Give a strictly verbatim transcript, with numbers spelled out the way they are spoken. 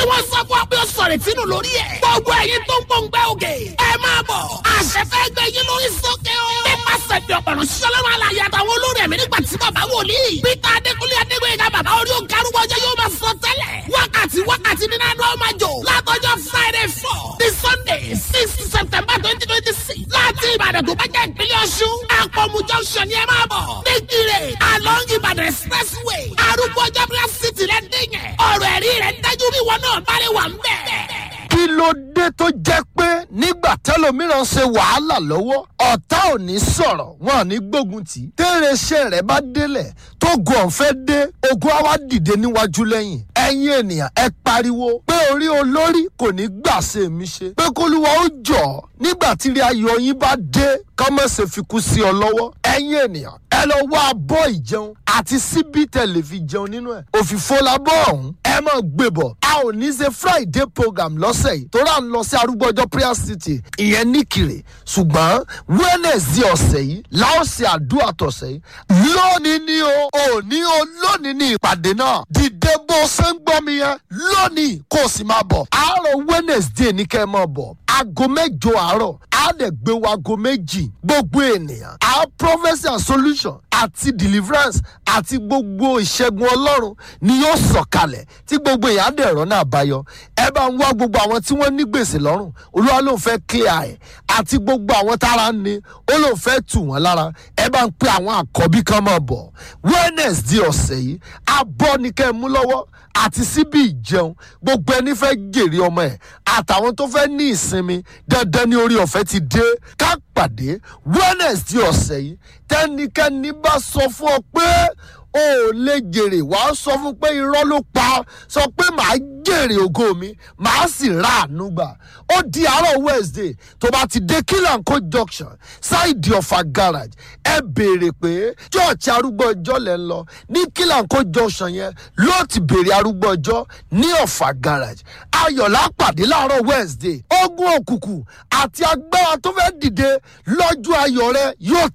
wọ́n sọ fún ọ pé ó sọ̀rọ̀ ìtinú lórí ẹ̀. Gbogbo ẹ̀yin tó ń pòǹgbẹ́ òkè. Ẹ máa bọ̀. Àṣẹ fẹ́ gbé yín lórí sókè o. Nípasẹ̀ bí ọ̀pọ̀rọ̀ ṣọlọ́run alàyè àtàwọn olórí ẹ̀mí nígbà tí bàbá wòlíì. Peter Adékúnlé Adégbèyìnká bàbá orí òkè arúgbó ọjọ́ yóò máa sọ tẹ́lẹ̀. Wákàtí wákàtí nínú àná máa jò. Látọjọ́ Friday four ní Sunday six September twenty twenty six. Láti Ìbàdàn tó bá jẹ́ ìpínlẹ̀ Ọ̀ṣun. Àpọ̀mù junction ni ẹ máa bọ̀. Nígbìrè along Ìbàdàn expressway. Arúgbó ọjọ́ prayer city rẹ̀ dín yẹn. Ọ̀rọ̀ ẹ̀rí rẹ̀ dájú bí wọn náà bá lè wà ń bẹ̀. Kí ló dé tó jẹ́ pé nígbà tẹ́lòmíràn ṣe wàhálà lọ́wọ́, ọ̀tá ò ní sọ̀rọ̀, wọn ò ní gbógun tì í? Tẹ́rẹ̀ iṣẹ́ rẹ̀ bá délẹ̀ tó gun ọ̀fẹ́ dé, ogun á wá dìde níwájú lẹ́yìn. Ẹ̀yin ènìyàn, ẹ pariwo pé orí olórí kò ní gbà ṣe mí ṣe, pé kólúwa ó jọ̀ nígbà tí ilé ayọ̀ yín bá dé, kọ́mọ̀sẹ̀ fikú sí ọ lọ́wọ́. Ẹ̀yin ènìyàn, ẹ lọ wá abọ́ ìjẹun àti síbí tẹ̀lé fi jẹun nínú ẹ̀. Òfìfo labọ́ ọ̀hún, ẹ máa gbé bọ̀. A ò ní ṣe Friday program lọ́sẹ̀ yìí torí à ń lọ sí Arúgbó Ọjọ́ prayer city, ìyẹn nìkìrè, ṣùgbọ́n Wednesday ọ̀sẹ̀ yìí láòsì àdúrà tọ̀sẹ̀ yìí. Lónìí ni o, òní o, lónìí ni ìpàdé náà. Dìde bó ṣe ń gbọ́ mi yẹn lónìí, kó o sì máa bọ̀. Àárọ̀ Wednesday ní kẹ́ ẹ máa bọ̀, aago mẹ́jọ àárọ̀, á dẹ̀ gbé wa aago méjì. Gbogbo ènìyàn, our prophecy and solution àti deliverance àti gbogbo ìṣẹ́gun Ọlọ́run ni yóò sọ̀kalẹ̀ tí gbogbo èèyàn á dẹ̀ rọ́nà àbáyọ. Ẹ bá ń wá gbogbo àwọn tí wọ́n ní gbèsè lọ́rùn, Olúwa ló ń fẹ́ clear ẹ̀, àti gbogbo àwọn tára ń ní, ó lóun fẹ́ tù wọ́n lára. Ẹ bá ń pe àwọn àkọ́bí kan máa bọ̀ Wednesday ọ̀sẹ̀ yìí. Abọ́ ni kẹ́ ẹ mú lọ́wọ́ àti síbí ìjẹun. Gbogbo ẹni fẹ́ jèrè ọmọ ẹ̀ àtàwọn tó fẹ́ ní ìsinmi, dandan ní orí ọ̀fẹ́ ti dé. Ká pàdé Wednesday ọ̀sẹ̀ yìí. Tẹ́nikẹ́ni bá sọ fún ọ pé o ò lè jèrè, wàá sọ fún pé irọ́ ló pa. Sọ pé màá jèrè ògo mi, màá sì ra àánú gbà. Ó di àárọ̀ Wednesday. Tó bá ti dé Kílànkó junction, ṣáìdì Ọ̀fà garage, ẹ béèrè pé church Arúgbó Ọjọ́ lẹ́ ń lọ. Ní Kílànkó junction yẹn ló ti béèrè Arúgbó Ọjọ́ ní Ọ̀fà garage. Ayọ̀lá pàdé láàárọ̀ Wednesday. Ogun òkùnkùn àti agbára tó fẹ́ dìde lọ́jọ́ ayọ̀ rẹ yóò tẹ̀.